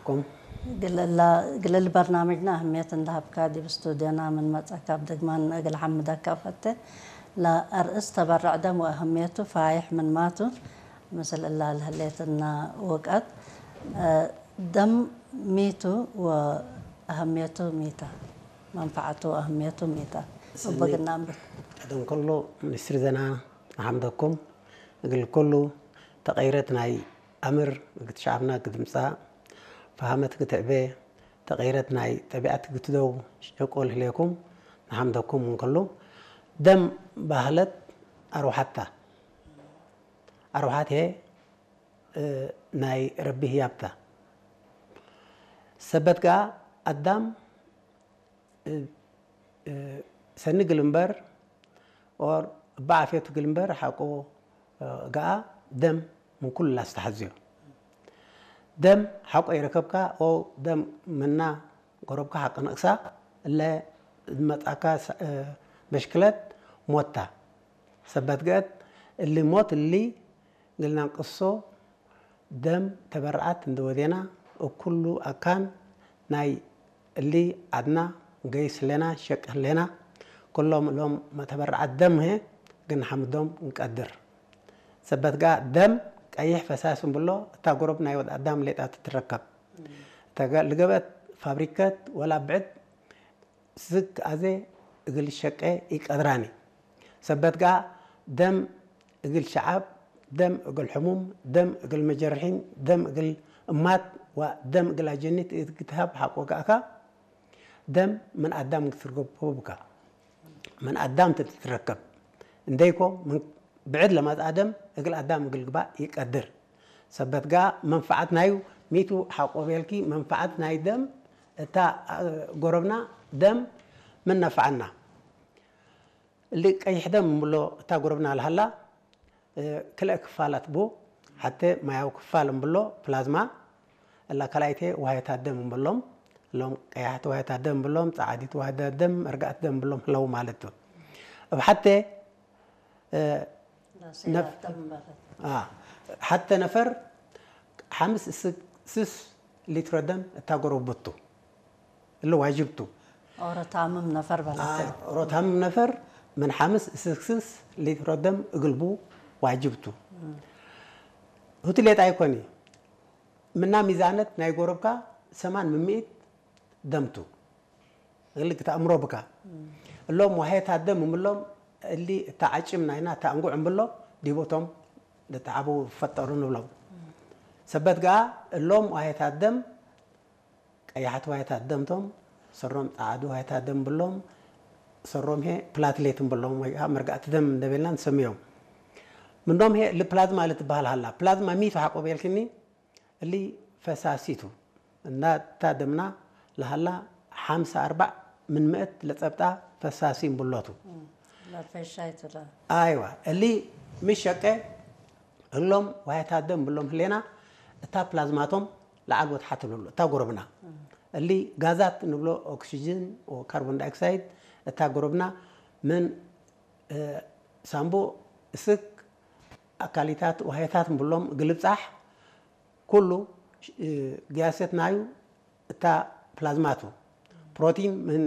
ኩም ግለላ ግለል በርናምጅና ኣህምየት እንዳሃብካ ዲብ ስቱድዮና ምን መጻካ ብደግማን እግል ሓምደካ ፈቴ። ለአርእስ ተበረዕ ደም ወአህምየቱ ፋይሕ ምን ማቱ ምስል እላ ለህሌትና ውቀት ደም ሚቱ ወአህምየቱ ሚታ መንፈዓቱ ወአህምየቱ ሚታ እበግና እምብል። ቀደም ከሎ ሚኒስትሪ ዘና ንሓምደኩም እግል ኩሉ ተቐይረት ናይ ኣምር እግት ሸዓብና ግድምጻ ፈሃመት ግትዕቤ ተቐይረት ናይ ጠቢዓት ግትደው ሸቆል ህሌኩም ንሓምደኩም እንከሉ ደም ባህለት ኣርውሓታ ኣርውሓት ሄ ናይ ረቢ ህያብታ ሰበት ገኣ ኣዳም ሰኒ ግልምበር ኦር እባ ዓፍየቱ ግልምበር ሓቆ ገኣ ደም ምን ኩሉ ላስተሓዝዮ ደም ሓቆ ይረከብካ ኦ ደም ምና ጎረብካ ሓቂ ነቅሳ እለ ዝመጻካ መሽክለት ሞታ ሰበት ገእት እሊ ሞት እሊ ግልናንቅሶ ደም ተበርዓት እንደወዴና እኩሉ ኣካን ናይ እሊ ዓድና ገይስ ህሌና ሸቅ ህሌና ኩሎም እሎም መተበርዓት ደም ሄ ግን ሓምዶም እንቀድር ሰበት ጋ ደም ቀይሕ ፈሳስ እንብሎ እታ ጎረብ ናይ ወድ ኣዳም ሌጣ ትትረከብ እታ ልገበት ፋብሪከት ወላ ብዕድ ስክ ኣዜ እግል ሸቄ ኢቀድራኒ ሰበት ጋ ደም እግል ሸዓብ ደም እግል ሕሙም ደም እግል መጀርሒን ደም እግል እማት ዋ ደም እግል ኣጀኒት እግትሃብ ሓቆ ጋእካ ደም ምን ኣዳም ግትርገቦብካ ምን ኣዳም ትትረከብ እንደይኮ ብዕድ ለማጽ ኣደም እግል ኣዳም እግል ግባእ ይቀድር ሰበት ጋ መንፈዓት ናዩ ሚቱ ሓቆ ቤልኪ መንፈዓት ናይ ደም እታ ጎረብና ደም ምን ነፍዓና እሊ ቀይሕ ደም እንብሎ እታ ጎረብና ልሃላ ክልአ ክፋላት ቡ ሓተ ማያዊ ክፋል እንብሎ ፕላዝማ እላ ካልኣይቴ ዋህየታት ደም እንብሎም እሎም ቀያሕቲ ዋህየታት ደም እንብሎም ጸዓዲት ዋህየታት ደም እርጋእቲ ደም እንብሎም ህለው ማለት እዩ። እብ ሓተ ሓተ ነፈር ሓምስ ስስ ሊትሮ ደም እታ ጎረብቱ እሊ ዋጅብቱ ኦሮታምም ነፈር በላተ ኦሮታምም ነፈር ምን ሓምስ ስስ ሊትሮ ደም እግልቡ ዋጅብቱ ሁቲ ሌጣ ኣይኮኒ ምና ሚዛነት ናይ ጎረብካ ሰማን ምምኢት ደምቱ እሊ ክተእምሮ ብካ እሎም ዋሄታት ደም እምሎም እሊ እታ ዓጭም ናይና እታ እንጉዕ እምብሎ ዲቦቶም ልተዓቡ ፈጠሩ ንብሎም ሰበት ገኣ እሎም ዋሄታት ደም ቀያሕቲ ዋሄታት ደምቶም ሰሮም ጸዓዱ ዋሄታት ደም ብሎም ሰሮም ሄ ፕላትሌት እምብሎም ወይ ከዓ መርጋእቲ ደም እንደበልና ንሰምዮም ምኖም ሄ ልፕላዝማ ልትበሃል ሃላ ፕላዝማ ሚቱ ሓቆ ቤልክኒ እሊ ፈሳሲቱ እና እታ ደምና ለሃላ ሓምሳ ኣርባዕ ምን ምእት ለጸብጣ ፈሳሲ እምብሎቱ ለፈሻይቱላ ኣይዋ እሊ ምሸቀ እሎም ዋህታት ደም ብሎም ህሌና እታ ፕላዝማቶም ለዓል ወትሓት ትብሉ እታ ጎረብና እሊ ጋዛት ንብሎ ኦክሲጅን ካርቦን ዳይኦክሳይድ እታ ጎረብና ምን ሳምቡእ እስክ ኣካሊታት ዋህታት ንብሎም ግልብጻሕ ኩሉ ግያሰት ናዩ እታ ፕላዝማቱ ፕሮቲን ምን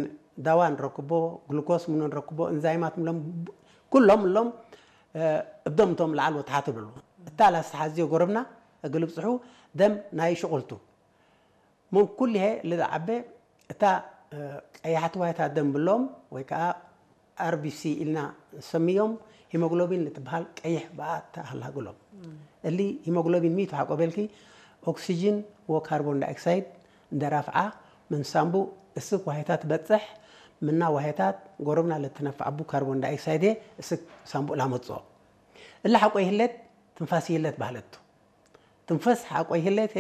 ዳዋ ንረክቦ ግሉኮስ ምኖ ንረክቦ እንዛይማት ምሎም ኩሎም እሎም እብዶምቶም ለዓል ወትሓት ብሉ እታ ላስተሓዝዮ ጎረብና እግልብፅሑ ደም ናይ ሽቁልቱ ምን ኩልሄ ልዝዓበ እታ ቀያሕቲ ዋይታ ደም ብሎም ወይ ከዓ ኣርቢሲ ኢልና ንሰምዮም ሂሞግሎቢን ንትበሃል ቀይሕ ብኣ ተሃላግሎም እሊ ሂሞግሎቢን ሚቱ ሓቆ በልኪ ኦክሲጅን ወካርቦን ዳይኦክሳይድ እንደራፍዓ ምን ሳምቡ እስክ ዋሄታት በጽሕ ምና ዋሄታት ጎረብና ለትነፍዓቡ ካርቦን ዳይኦክሳይድ እስክ ሳምቡ ላመጽኦ እሊ ሓቆ ይህለት ትንፋስ ይህለት ባህለቱ ትንፈስ ሓቆ ይህለት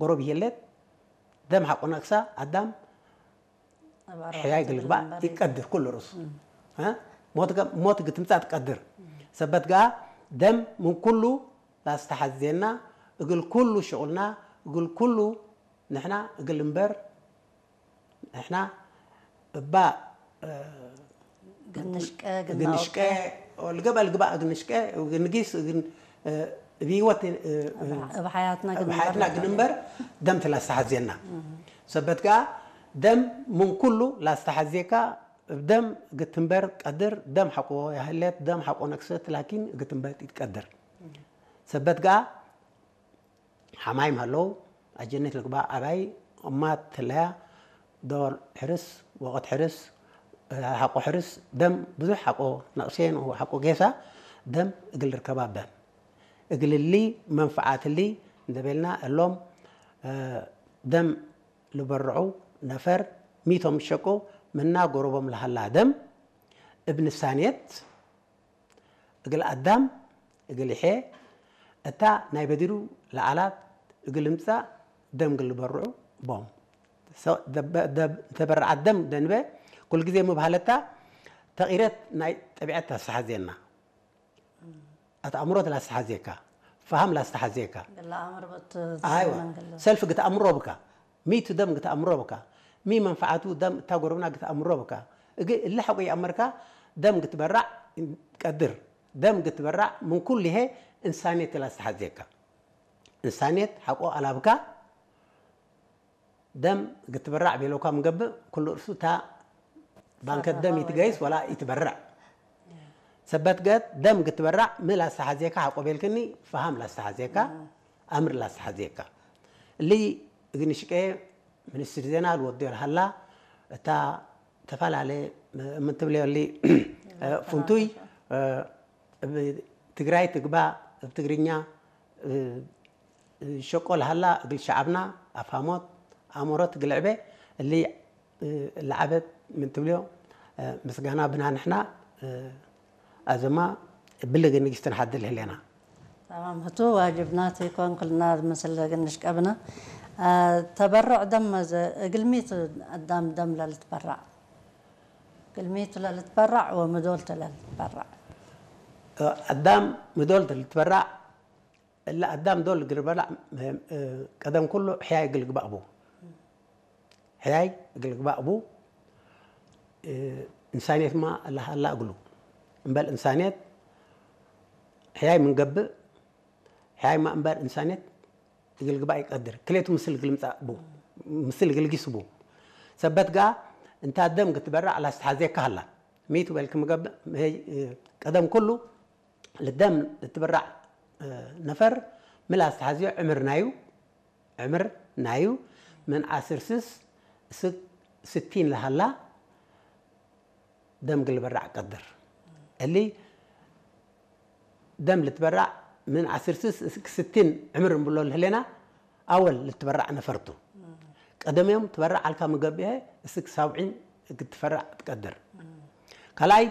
ጎረብ ይህለት ደም ሓቆ ነቅሳ ኣዳም ሕያይ ግልግባእ ይቀድር ኩሉ ርእሱ ሞት ግትምጻእ ትቀድር ሰበት ገኣ ደም ምን ኩሉ ላስተሓዝየና እግል ኩሉ ሽቁልና እግል ኩሉ ንሕና እግል እምበር ንሕና እባ ግንሽቀ ግንሽቀ ልገበ ልግባእ ግንሽቀ ግንጊስ ብህይወት እብ ሓያትና ግን እምበር ደም ትላስተሓዜና። ሰበት ከኣ ደም ምን ኩሉ ላስተሓዜካ፣ እብ ደም ግትንበር ቀድር። ደም ሓቆ ያህለት፣ ደም ሓቆ ነክሰት ላኪን ግትንበር ይትቀድር። ሰበት ከኣ ሓማይም ሃለው ኣጀነት ልግባ ኣባይ እማ ትለያ ዶር ሕርስ ወቐት ሕርስ ሓቆ ሕርስ ደም ብዙሕ ሓቆ ነቕሴን ሓቆ ጌሳ ደም እግል ርከባ በን እግልሊ መንፍዓትሊ እንደበልና እሎም ደም ልበርዑ ነፈር ሚቶም ሸቁ ምና ጎረቦም ለሃላ ደም እብ ንሳኔት እግል ኣዳም እግል ይሐ እታ ናይ በዲሩ ለዓላት እግል እምጻእ ደም ግል ልበርዑ ቦም። ተበረዓት ደም ደንበ ኩል ግዜ ምብሃለታ ተቒረት ናይ ጠቢዐት ታስተሓዜና። ኣት ኣእምሮ ትላስተሓዜካ፣ ፈሃም ላስተሓዜካ። ኣይዋ ሰልፍ ግትኣምሮ ብካ፣ ሚቱ ደም ግትኣምሮ ብካ፣ ሚ መንፈዓቱ ደም እታ ጎረብና ግትኣምሮ ብካ። እግ እሊ ሓቆ ይኣመርካ ደም ግትበራዕ ቀድር። ደም ግትበራዕ ምን ኩሉ ይሄ እንሳኔት ትላስተሓዜካ። እንሳኔት ሓቆ ኣላብካ ደም ግትበራዕ ቤለውካ ምገብእ ኩሉ እርሱ እታ ባንከት ደም ይትገይስ ወላ ይትበርዕ። ሰበት ገት ደም ግትበራዕ ምላስተሓዜካ ሓቆ ቤልክኒ ፈሃም ላስተሓዜካ ኣምር ላስተሓዜካ። እሊ እግንሽቀ ሚኒስትሪ ዜና ልወዶ ልሃላ እታ ተፈላለ ምትብለዮ እሊ ፍንቱይ እብ ትግራይ ትግባ እብ ትግርኛ ሸቆ ለሃላ እግል ሸዓብና ኣፋሞት ኣእምሮት ግልዕበ እሊ ለዓበት ምን ትብልዮ ምስጋና ብና ንሕና ኣዘማ ብልግ ንግስትን ሓድል ህሌና። تمام هتو واجبنا تيكون كلنا مثل قنش قبنا. آه تبرع دم እግልሚት ኣዳም ደም ለልትበራዕ እግልሚት ለልትበራዕ ወምዶልት ለልትበራዕ ኣዳም ምዶልት ልትበራዕ እለ ኣዳም ዶል እግል በላዕ ቀደም ኩሉ ሕያይ እግል ግባእ ቡ። ሕያይ እግል ግባእ ቡ። እንሳንየት ማ ለሃላ እግሉ እምበል እንሳንየት ሕያይ ምን ገብእ ሕያይ ማ እምበር እንሳንየት እግል ግባእ ይቀድር ክሌቱ ምስል እግል ምጻእ ቡ። ምስል እግል ጊስ ቡ። ሰበት ጋ እንታ ደም ግትበራዕ ላስተሓዜካ ሃላ ሚቱ በልክ ምገብእ ቀደም ኩሉ ልደም ልትብራዕ ነፈር ምላስ ተሓዝዮ ዕምር ናዩ ዕምር ናዩ ምን ዓስር ስስ እስክ ስቲን ለሃላ ደም ግልበራዕ ቀድር እሊ ደም ልትበራዕ ምን ዓስር ስስ እስክ ስቲን ዕምር እንብሎ ልህሌና ኣወል ልትበራዕ ነፈርቱ ቀደምዮም ትበራዕ ኣልካ ምገብኤ እስክ ሳብዒን እግትፈራዕ ትቀድር ካልኣይ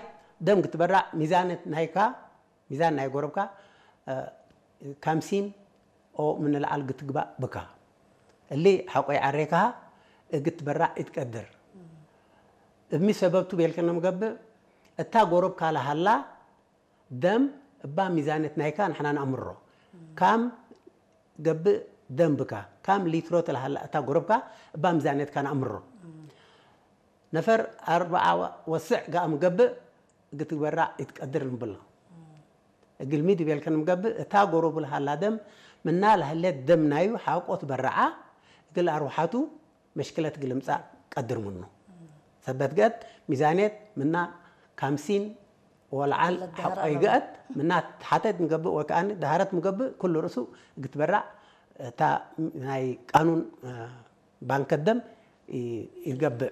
ደም ግትበራዕ ሚዛነት ናይካ ሚዛን ናይ ጎረብካ ካምሲን ኦ ምንልዓል ግትግባእ ብካ እሊ ሓቆይ ዓሬካ እግትበራዕ ኢትቀድር እብሚ ሰበብቱ ቤልከ ነምገብእ እታ ጎረብካ ለሃላ ደም እባ ሚዛነት ናይካ ንሕና ንኣምሮ ካም ገብእ ደም ብካ ካም ሊትሮ ተለሃላ እታ ጎረብካ እባ ሚዛነትካ ንኣምሮ ነፈር ኣርብዓ ወስዕ ጋም ገብእ ግትግበራ ይትቀድር ንብሎ እግልሚ ድቤልከ ንምገብእ እታ ጎረቡ ለሃላ ደም ምና ለህሌት ደም ናዩ ሓቆ ትበርዓ እግል ኣርውሓቱ መሽክለት ግልምጻእ ቀድር ምኑ ሰበት ገት ሚዛኔት ምና ካምሲን ወልዓል ሓቆ ይገአት ምና ሓተት ንገብእ ወከኣኒ ዳህረት ምገብእ ኩሉ ርእሱ ግትበራዕ እታ ናይ ቃኑን ባንከት ደም ይገብእ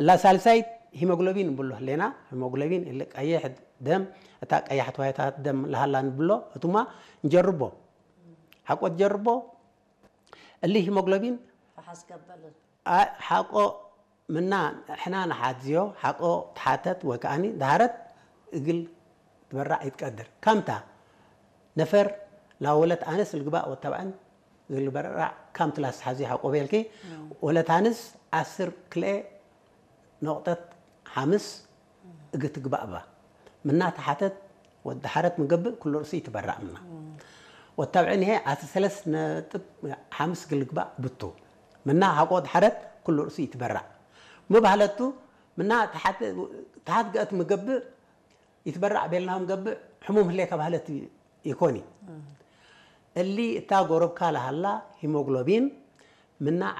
እላ ሳልሳይት ሂሞግሎቢን ንብሎ ህሌና ሂሞግሎቢን እሊ ቀይሕ ደም እታ ቀያሕ ተዋይታት ደም ለሃላ ንብሎ እቱማ ንጀርቦ ሓቆ ትጀርቦ እሊ ሂሞግሎቢን ሓቆ ምና ሕና ንሓዝዮ ሓቆ ተሓተት ወከኣኒ ዳህረት እግል ትበራዕ ይትቀድር ካምታ ነፈር ላወለት ኣነስ ልግባእ ወተባዕን ዝልበራዕ ካምቲ ላስተሓዚ ሓቆ ቤልኪ ወለት ኣንስ ዓስር ክልኤ ነቑጠት ሓምስ እግትግባእ እባ ምና ተሓተት ወዲ ሓረት ምገብእ ኩሉ ርእሲ ይትበራዕ ምና ወታብዕን ይሄ ዓስር ሰለስ ነጥብ ሓምስ ግልግባእ ብቱ ምና ሓቆ ወዲ ሓረት ኩሉ ርእሲ ይትበራዕ ምባህለቱ ምና ተሓት ገእት ምገብእ ይትበራዕ ቤልናም ገብእ ሕሙም ህሌካ ባህለት ይኮኒ እሊ እታ ጎረብካ ለሃላ ሂሞግሎቢን ምና